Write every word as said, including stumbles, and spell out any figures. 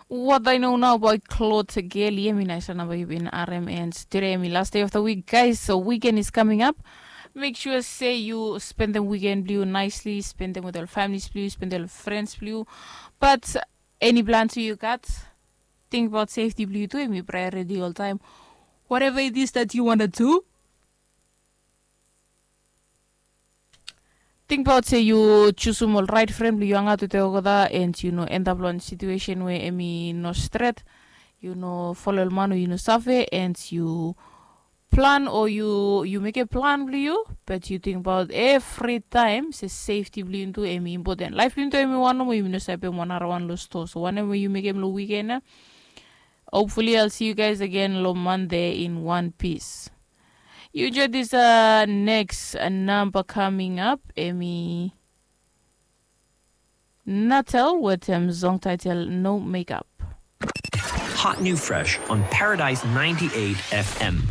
What I know now about Claude Geli, emi naisa namba yu bin arem, and today emi last day of the week, guys. So weekend is coming up. Make sure say you spend the weekend blue nicely, spend them with your families blue, spend them with friends blue. But any plan to you got? Think about safety blue too, emi priority all time. Whatever it is that you wanna do, tingbaot se yu jusum ol rait fren blong yu hangaot wetem olgeta, and yu no endap long wan situesen we em i no stret. Yu no folo ol man we yu no save, and yu plan o yu yu mekem plan blong yu, bat yu tingbaot evritaem se sefti blong yu tu em i impoten. Laef blong yu tu em i wan nomo, yu no save pem wan narawan long stoa. So wanem we yu mekem long wiken ya. Hopefully I'll see you guys again long Monday in one piece. You enjoy this uh, next uh, number coming up, Emi Natel with him song title No Makeup. Hot new fresh on Paradise ninety-eight F M.